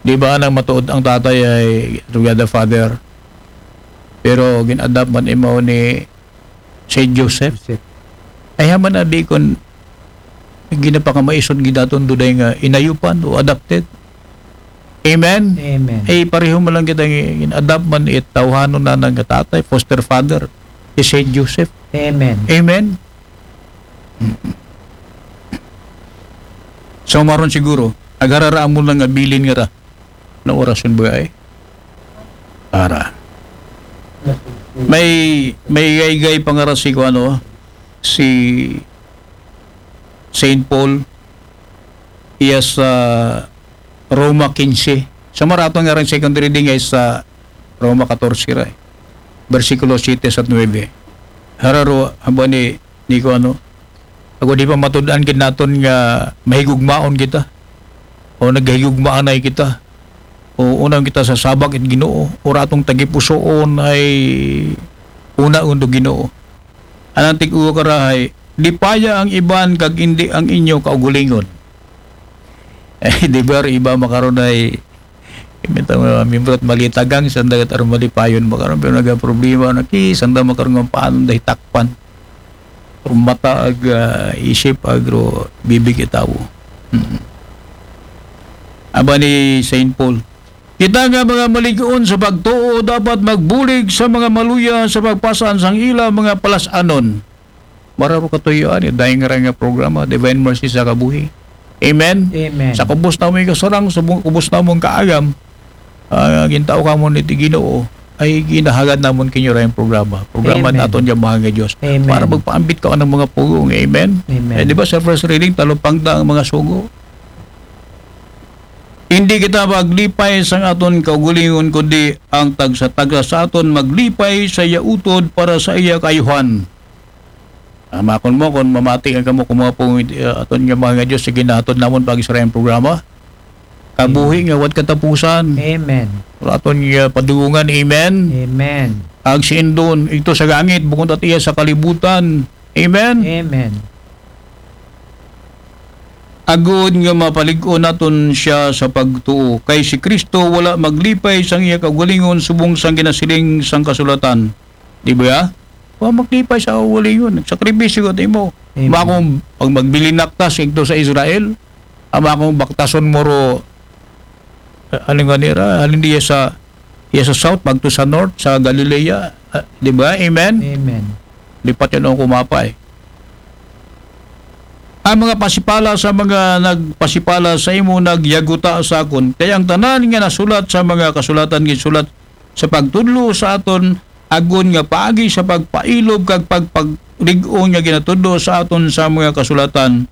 Di ba nang matuod ang tatay ay through God the Father? Pero gin-adopt man imaw ni Saint Joseph. Joseph. Ay, haman abi kon ginapakamaisod gid aton duday nga inayupan o adopted. Amen? Amen. Ay, pareho man lang kita nga gin-adopt man it tawhanon na nga tatay, foster father, si Saint Joseph. Amen. Amen? So, maron siguro, agarara mo lang nga bilin nga ra na orasyon ba ay? Para. May, may gaygay pa nga ra si, ano, si Saint Paul, iya sa Roma quince. Sa maraton nga rin second reading ay sa Roma catorce ra, eh. Bersikulo siete sa nuebe. Hararo, haba ni, ni ko ano, ako di pa matud-an gid naton nga mahigugmaon kita. O naghigugmaanay kita. O unang kita sa sabak it Ginoo. O ratong tagipusoon ay una undo Ginoo. Anang tig-uwa ka ra ay, lipaya ang iban kag indi ang inyo kaugulingon. Eh, di ba, iba makaron ay, imbita mga miyembro at malitagang, sanda kat aron malipayon makaron, pero nagaproblema na ki, sanda makaron nga paano dahil takpan. Pero mata ag, ah, isip, agro, bibig itawo. Mm. Aba ni Saint Paul, kita nga mga maligoon sa pagtuo, dapat magbulig sa mga maluya sa pagpasaan sang ila mga palas-anon. Mararo katuyoan, eh, dahil nga nga programa, Divine Mercy sa Kabuhi. Amen? Amen. Sa kubos na mong kasarang, sa bu-, kubos na mong kaagam, ah, gintao ka mo ni ti Ginoo, ay ginahagad namon kinyo ra yung programa. Programa Amen. Naton nga mahal nga Diyos. Amen. Para magpaambit ka ng mga pugong. Amen? Amen. Eh, di ba sa first reading, talupang da ang mga sugo? Hindi kita maglipay sa aton kaugalingon, kundi ang tagsa-tagsa sa aton maglipay sa iya utod para sa iya kaayuhan. Amakon mo kung mamati ka mo kung mga pong, uh, aton nga mga nga Diyos, sige na aton namon pag Israel programa. Kabuhi nga wat katapusan. Amen. Aton nga padungan, amen. Amen. Ag si Indon, ito sa langit, bukod at iya sa kalibutan. Amen. Amen. Agod nga mapalig-on naton siya sa pagtuo. Kay si Kristo wala maglipay sang iya kaugalingon subong sang ginasiling sang kasulatan. Di ba? Wa maglipay sa kaugalingon. Nagsakripisyo ka imo. Amen. Ama kung pag magbilinak ta sa igto sa Israel, ama kung baktason mo ro, eh, ano nga nira, halin diya sa, iya sa south, pagto sa north, sa Galilea, ah, di ba? Amen? Amen. Lipat yan ang kumapay. Ang mga pasipala sa mga nagpasipala sa imo nagyaguta sa akon. Kaya ang tanan nga nasulat sa mga kasulatan gisulat sa pagtudlo sa aton agon nga paagi sa pagpailob kag pagpaglig-on nga ginatudlo sa aton sa mga kasulatan,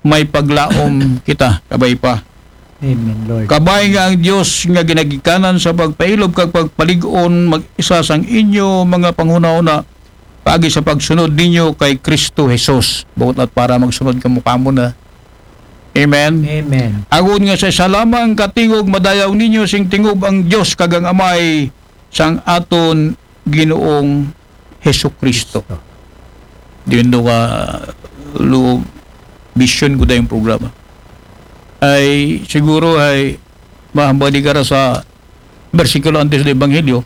may paglaom kita. Kabay pa. Amen, Lord. Kabay nga ang Dios nga ginagikanan sa pagpailob kag pagpalig-on mag-isa sang inyo mga panghunahuna paagi sa pagsunod ninyo kay Kristo Jesus. Buot at para magsunod kamo kamo na. Amen. Amen. Agon nga sa isa lamang ka tingog madayaw ninyo sing tingob ang Dios kag ang Amay sang aton Ginoong Hesukristo. Diyon do ka loob, vision ko dayong programa. Ay siguro ay mahambali ka ra sa bersikulo antes sa Ebanghelyo,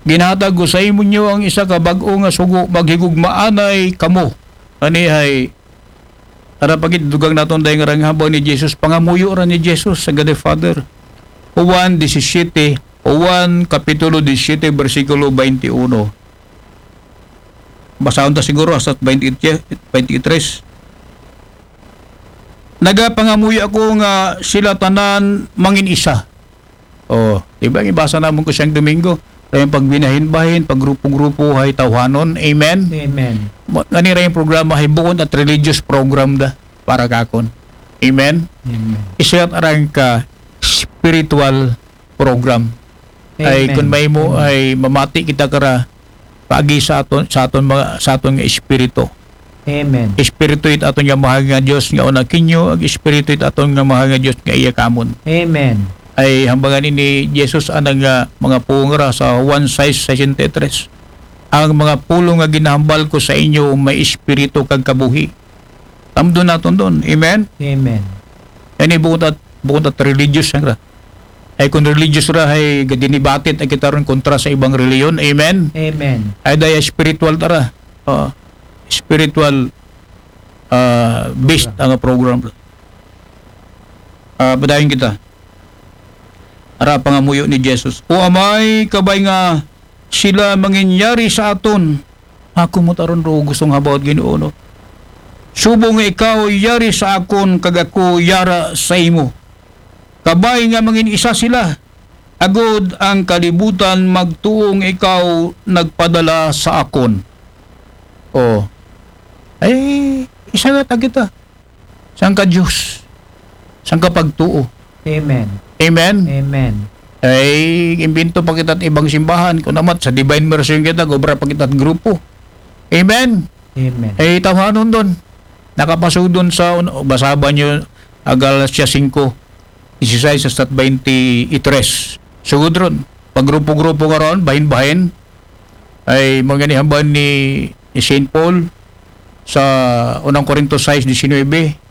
"Ginhatag ko sa imo nyo ang isa ka bag-o nga sugo, maghigugmaanay kamo." Ani ay, ara pagit dugang naton dahil nga ranghaba ni Jesus, pangamuyo ra ni Jesus sa God the Father. Juan disisiyete, Juan kapitulo disisiyete, bersikulo twenty-one. Basahon ta siguro hasta twenty-eight, twenty-three. Nagapangamuyo ako nga sila tanan mangin isa. Oh, di ba? Ibasa naman ko siyang Domingo. Kaya pagbinahin-bahin, paggrupo-grupo, hay tawhanon. Amen? Amen. Ma-, ngani ra yung programa, hay bukon at religious program da para kakon. Amen? Amen. Isa at arang ka spiritual program. Ay, amen. Kung may mo, amen, ay mamati kita kara, paagi sa aton, sa aton mga, sa aton nga espiritu. Amen. Espiritu it aton nga mahal nga Dios nga una kinyo, ag espiritu it aton nga mahal nga Dios nga iya kamon. Amen. Ay hambangan ini Jesus anang nga mga pungra sa Juan sais sesenta y tres. Ang mga pulong nga ginahambal ko sa inyo may espiritu kag kabuhi. Tamdon naton don. Amen? Amen. Yan ay bukod at, bukod at religious yan ra. Ay kung religious ra, ay gadinibatit ay kita ron kontra sa ibang reliyon. Amen? Amen. Ay daya spiritual tara. Ah, spiritual, ah, based ang program. Ah, padayon kita. Ara pangamuyo ni Jesus. O Amay, kabay nga sila manginyari sa aton. Ako mo taron ro gustong habaw, Ginoo, no? Subong nga ikaw yari sa akon kag ako yara sa imo. Kabay nga mangin isa sila, agod ang kalibutan magtuo nga ikaw nagpadala sa akon. Oh. Ay, isa nga ta kita. Sangka Diyos. Sangka pagtuo. Amen. Amen? Amen. Ay, imbento pa kita at ibang simbahan. Kung namat, sa Divine Mercy yung kita, gobra pa kita at grupo. Amen? Amen. Ay, tawhanon doon. Nakapasudon sa, un-, basa ba nyo, Galatia singko, disisais hasta twenty-tres. Sugod ron. Paggrupo-grupo ka ron, bahin-bahin. Ay, mga nihamban ni, ni Saint Paul sa unang Korinto sais disinuybe.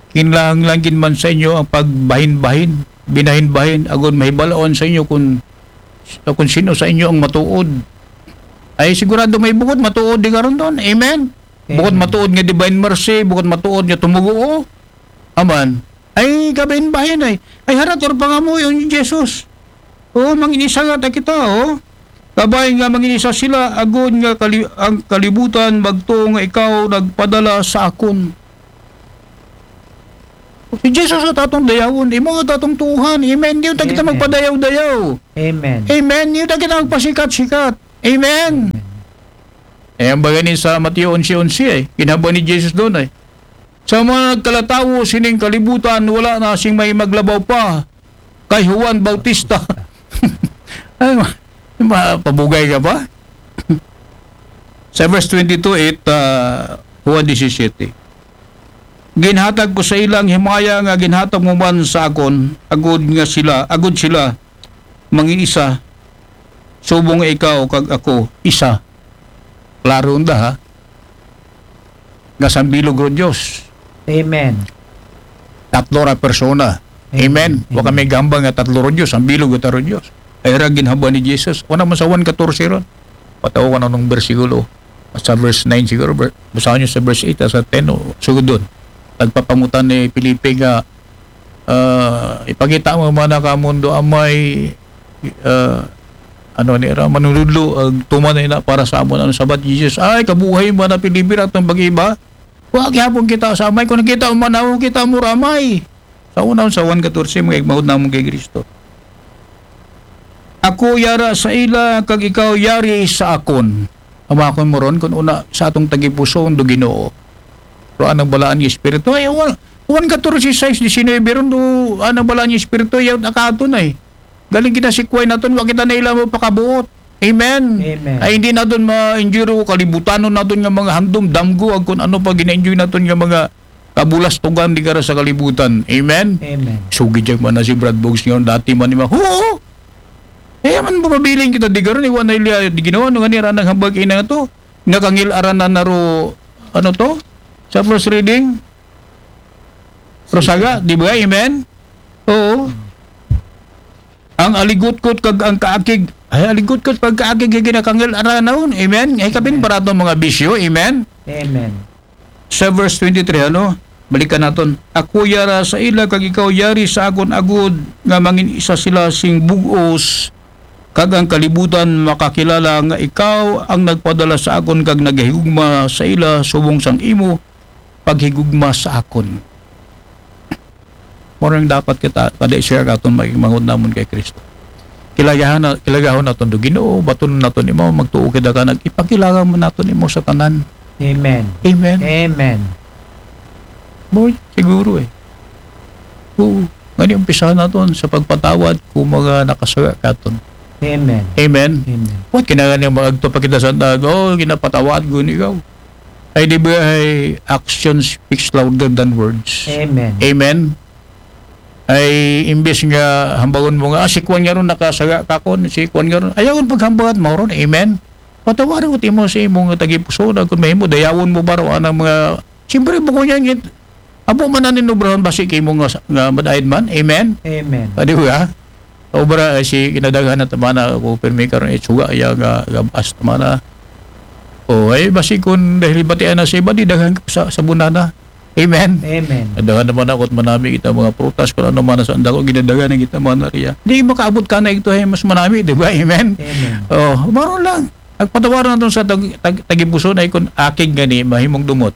Kinlahang lang gid man sa inyo ang pagbahin-bahin, binahin-bahin, agon mahibalaon sa inyo kung, kung sino sa inyo ang matuod. Ay sigurado may bukod matuod di karon doon. Amen? Bukod, amen, matuod nga divine mercy, bukod matuod nga tumuguo. Aman. Ay, kabahin-bahin ay. Ay, harator pangamuyo ni Jesus. O, manginisa nga ta kita, o. Kabay nga manginisa sila, agod nga kali-, ang kalibutan magtuo nga ikaw nagpadala sa akon. Si Jesus at atong dayawon, imo at atong tuuhan. Amen. Di ta kita, amen, magpadayaw-dayaw. Amen. Amen. Di ta kita magpasikat-sikat. Amen. Amen. Eh, ang bagay ni sa Mateo onse onse ay, ginhaba ni Jesus doon ay, sa mga nagkalatawo sining kalibutan, wala na sing may maglabaw pa kay Juan Bautista. Ay, ma-, ma-, pabugay ka pa? Sa verse twenty-two, it, ah, Juan disisiyete. Ginhatag ko sa ilang himaya nga ginhatag mo man sa akon, agud nga sila, agud sila, mangiisa, subong nga ikaw kag ako, isa. Klaro da, ha? Nga sambilog ro Diyos. Amen. Tatlo ra persona. Amen. Amen. Wa kami gamba nga tatlo ro Diyos, sambilog ta ro Diyos. Ay ra ginhaba ni Jesus. Wala man sa Juan katorse ron. Pataw ka na nung bersikulo. Sa verse nine siguro, ver-, basahan nyo sa verse eight, sa ten, o, sugod doon. Nagpapangutan ni Felipe nga, ah, ipakita mo man na ka mundo amay, ah, ano ni ra, manunudlo, ag tuman na ina para sa amon, ano sabat Jesus, ay, kabuhay man na Felipe, ratong pag-iba, wa gihapon kita sa amay, kung nakita mo man ako, kita mo ramay. Sa una, sa Juan katorse, mga igmahod namon kay Kristo. Ako yara sa ila, kag ikaw yari sa akon. Amakon mo ron, kung una, sa atong tagipuso, do Ginoo. Pero anang balaan nga Espiritu, ay, Juan, Juan katorse sais disinuybe ron, do, anang balaan nga Espiritu, yaw, nakato na eh. Galing kita si Kuway naton, wa kita na ila mo pakabuot. Amen. Amen. Ay, hindi naton ma-enjoy ro, kalibutanon naton nga mga handom, damgo, ag kung ano pa gina-enjoy naton nga mga kabulastugan di kara sa kalibutan. Amen? Amen. Sugi dyan man na si Brad Boggs ngayon. Dati man ni ma-, oo! Eh, man mapabiling kita di karon, iwan na ila, di ginawa, nung ani, ranang hambag ina to. Nakangil aranan na ro, ano to? Sa first reading? Rosaga, di ba? Amen? Oo. Ang aligutkot kag ang kaakig. Ay, aligutkot kag kaakig, yung ginakangil aranan. Amen? Ay, kapin, amen, para itong mga bisyo. Amen? Amen. Sa verse twenty-three, ano? Balikan naton. Ako yara sa ila, kag ikaw yari sa akon, agud nga mangin isa sila sing bugos, kag ang kalibutan makakilala nga ikaw ang nagpadala sa akon, kag naghigugma sa ila subong sang imo paghigugma sa akon. Mao ning dapat kita, kada isa katon, maghimangod namon kay Kristo. Kilagahan na, kilagahon naton do Ginoo, baton naton imo, magtuo kita kanang ipakilala man naton imo sa tanan. Amen. Amen. Amen. Boy, siguro eh. Oo. Ngani umpisahan naton sa pagpatawad kung mga nakasala katon. Amen. Amen. Amen. What kinahanglan niya maagto pa kita sa tag, "Oh, ginapatawad ko ni ikaw." Ay di ba ay action speaks louder than words. Amen. Amen. Ay imbes nga hambagon mo nga, "Ah, si kuan nga ron nakasala kakon, si kuan nga ron." Ayaw paghambag, mao ron. Amen. Patawaran ko timo sa imong tagipusoon, kung mahimo dayawon mo ba ro anang mga, siyempre, bukod niya ngit, abo man na ninubrahon basi kay mo nga, nga madaid man. Amen. Amen. Ah, di ba? Obra, eh, si kinadaghan na tamana ko pirmi karon, itsuga iya nga gabas tamana. O ay basi kun dahil batian na sa iba, di daghan sa, sa bunana. Amen. Amen. Daghan naman ako at manami kita mga prutas, kung ano man sa andako, ginadagan na kita mga nariya. Di makaabot ka na ito, eh, mas manami, di ba? Amen. Amen. Oh, maro lang. Agpatawaran naton sa tag, tag, tagipuson ay kun akig gani mahimong dumot.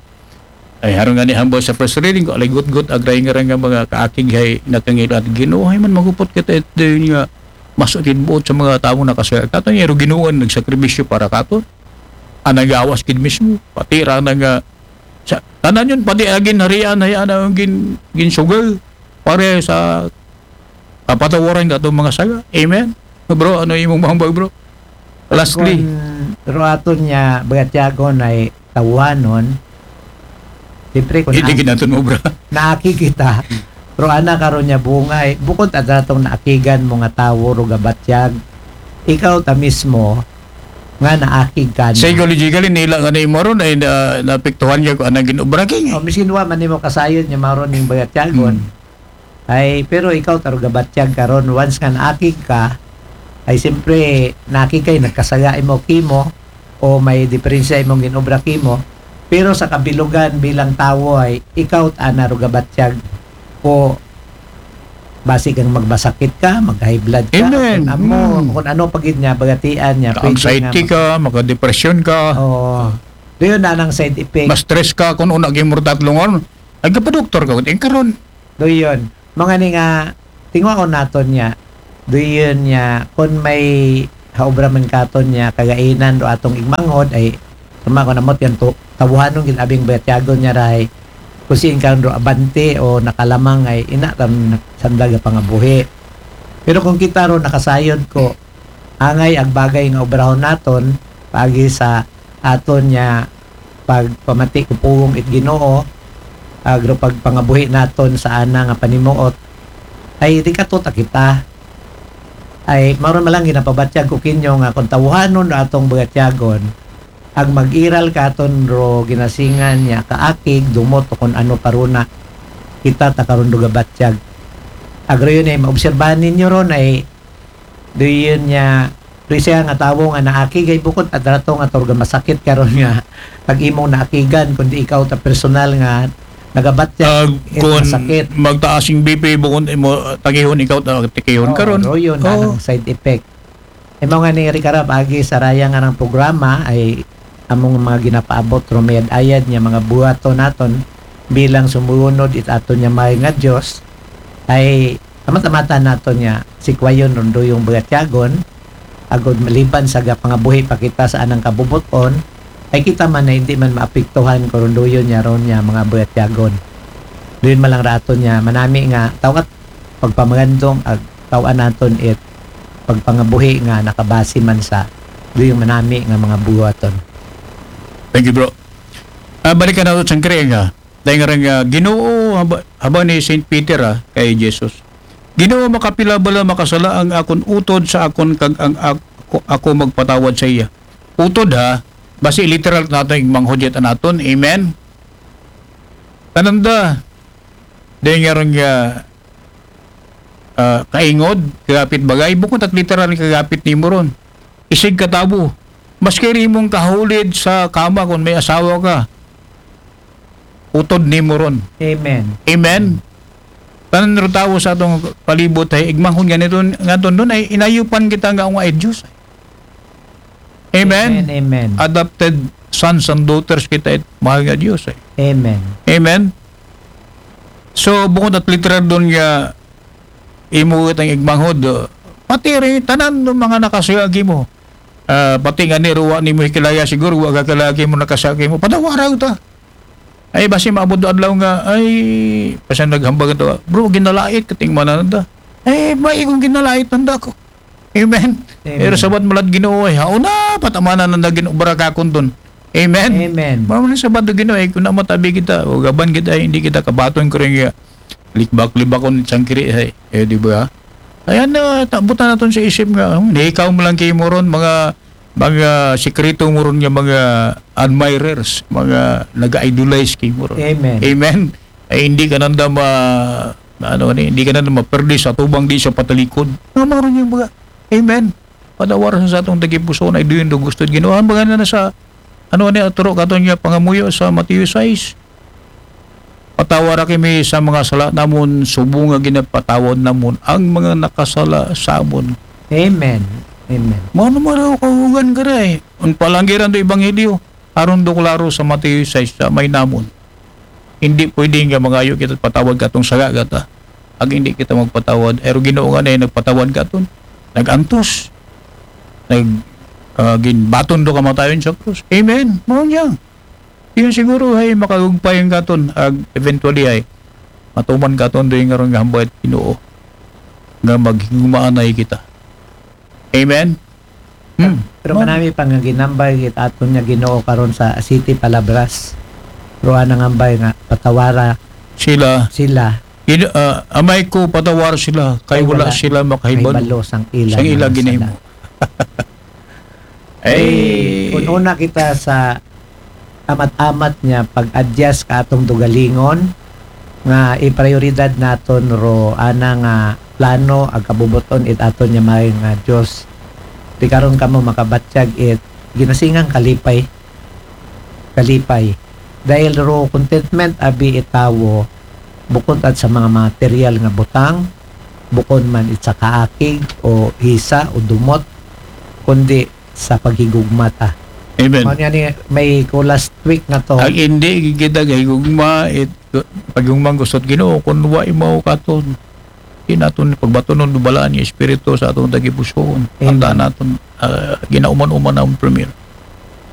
Ay haron gani hambal sa first reading ko, aligutgot agray nga nga mga kaakig hay nakangil at Ginoo, hay man magupot kita ito yun nga mas buot sa mga tawo nakasaya. Kato niya, ro Ginoo ang nagsakripisyo para katon. Ang nagawas gid mismo. Pati ra na nga sa tanan yun, pati agin harian hay ana ang gin, ginsugal. Pare sa kapatawaran ka itong mga saga. Amen? Bro, ano imong mahambag, bro? Lastly. Kung ruaton niya, bagatyagon ay tawanon, siyempre kung Hindi na, ginaton mo, bro. naaki kita, pero ana karon niya bungay, bukod at atong naakigan mo nga tawo, ro gabatyag, ikaw ta mismo, nga naakig ka na. Psychologically, nila nga na imo ron ay na, naapektuhan niya kung anong ginobra king. O, miskin wa man nimo kasayod niya maron ning bagatyagon. Hmm. Ay, pero ikaw taro gabatyag karon, once nga naakig ka, ay siyempre naakig kay nagkasaya imo kimo o may diferensya imong ginobra kimo. Pero sa kabilugan bilang tawo ay ikaw ta na ro gabatyag o basi kang magbasakit ka, mag-high blood ka, Amen. kung amo, Mm. kung ano pa gid niya, bagatian niya, pwede Anxiety nga ka, makadepresyon ka, Oo. Doon na nang side effect. ma-stress ka, kung una gimurtat lungon, nagkapadoktor ka, kundi karon. Doon. Mga ni nga, tingwaon naton niya. Doon niya, kung may haobra man katon niya, kagainan do atong igmanghod, ay, tama ko namot yan to, tabuhanon gid abing bayatyagon niya rahay. Kung siin karon do abante o nakalamang ay ina tam sandaga pangabuhi. Pero kung kita ro nakasayod ko, angay ag bagay nga obrahon naton, paagi sa aton niya pagpamati ko pugong it Ginoo, agro pagpangabuhi naton sa ana nga panimuot, ay di kato ta kita. Ay, mao ron malang ginapabatyag ko kinyo nga kung tawhanon atong bagatyagon, ag mag-iral ka aton ro ginasingan niya kaakig, dumot o kung ano paruna, kita ta karon do gabatyag. Agro yun ay maobserbahan ninyo ron ay doon niya, doon siya nga tawo nga naakig ay bukod at rato nga turga masakit karon nga pag imong naakigan, kundi ikaw ta personal nga nagabatyag Ah, it kung masakit. magtaas yung B P, bukod mo takihon ikaw, ta-, takihon Oo, karon. Ro yun, Oo. Anang side effect. Imo nga ni Ricardo, paagi sa raya nga ng programa ay among mga ginapaabot, rumayad-ayad niya mga buhaton naton bilang sumuunod it aton niya may nga Diyos, ay tamat-tamatan naton niya sikwayon ron do yung bagatyagon, agod maliban sa gapangabuhi pa kita sa anang kabubuton, ay kita man na hindi man maapektuhan ko ron doyon niya ron niya mga bagatyagon. Doon malang raton niya manami nga tawat pagpamagandong ag tawan naton it pagpangabuhi nga nakabase man sa doyong manami nga mga buhaton. Thank you, bro. Ah, balikan nato sa Kriya nga. Dahil nga rin nga, Ginoo, haba, haba ni Saint Peter, ah, kay Jesus. Ginoo, makapila bala makasala ang akon utod sa akon kag ang ako, ako magpatawad sa iya. Utod, ha, basi literal nato yung manghudit naton. Amen? Tananda, dahil nga rin nga, ah, kaingod, kagapit bagay, bukod at literal kagapit ni mo ron. Isig katabo, maski rin mong kahulid sa kama kung may asawa ka, utod ni mo ron. Amen. Amen? Tanan ro tawo sa atong palibot ay igmahon nga nito, nga ton doon ay inayupan kita nga ang ay Diyos. Amen? Amen, amen. Adopted sons and daughters kita, it mahal nga Diyos. Eh. Amen. Amen? So, bukod at literal doon nga, imo it ang igmanghod, uh, pati rin tanan ng mga nakasuya kimo. Ah, pati nga ni ruwa nimo hikilaya, siguro wa ka kilala kimo, nakasuya kimo. Padawara ta. Ay, basi maabot do adlaw nga, ay, pasan naghambag to. Bro, ginalait kating mananda. Eh, ba, ikong ginalait nanda ko. Amen. Amen. Pero sabat malad Ginoo, ay, hauna, patamanan nanda Ginoo, barakakon ton. Amen. Amen. Mao man sabat do Ginoo, ay, kung namatabi kita, o gaban kita, ay, hindi kita kabaton ko rin nga, likbak-libakon, sangkiri, ay, eh, di ba? Ayan na, tabutan naton sa isip nga, hmm, ikaw mo lang kayo mo ron, mga, mga sikreto mo ron nga mga admirers, mga nag-idolize kayo mo ron. Amen. Amen. Ay, hindi ka nanda ma, ano ni, hindi ka nanda maperdi sa tubang di sa patalikod. Nga mo ron yung mga, amen. Padawaran sa atong tagipuso na iduyon do gusto Ginoo. Ang mga na sa, ano ni, aturo katon niya pangamuyo sa Mateo sais. Patawara kami sa mga sala namon, subong nga ginapatawad namon ang mga nakasala sa amon. Amen. Amen. Mano maraw kahugan ka na eh. Ang palanggiran do ebanghelyo, aron do klaro sa Mateo sais sa may namon. Hindi pwede nga mangayo kita patawad katong saga gata. Ag hindi kita magpatawad. Pero Ginoo nga na nagpatawad katon. Nag-antos. Nag, ah, ginbaton do kamatayon sa krus. Amen. Mao niya. Yun siguro ay makagugpay ang katon. Ag eventually ay matuman katon do yung nga ron nga hambay at Ginoo. Nga maghigumaanay kita. Amen. Hmm. Pero manami pa nga ginambay it aton niya Ginoo karon sa City Palabras. Pero anang ambay nga patawara Sila, sila. Gino, ah, amay ko, patawar sila, kay wala sila makahibalo. Kahibalo sang ila Sang ila mga ginahimo. sala. Ay, Kung una kita sa amat-amat niya pag-adjust ka atong dugalingon nga iprioridad naton ro ana nga plano ag kabubuton it aton niya may nga Dios. Di karon kamo makabatyag it ginasingang kalipay. Kalipay. Dahil ro contentment abi it tawo bukod at sa mga material nga butang, bukod man it sa kaakig o hisa o dumot, kundi sa paghigugma ta. amen. Mao nga ni may ko last week nga to. Ang hindi kita gahigugma, it paghigugma gusto Ginoo kun wa imaw katon. Di naton pagbatunon do balaan nga espiritu sa atong tagipusoon. Amen. Tandaan naton, ah, ginauman-uman ang premier.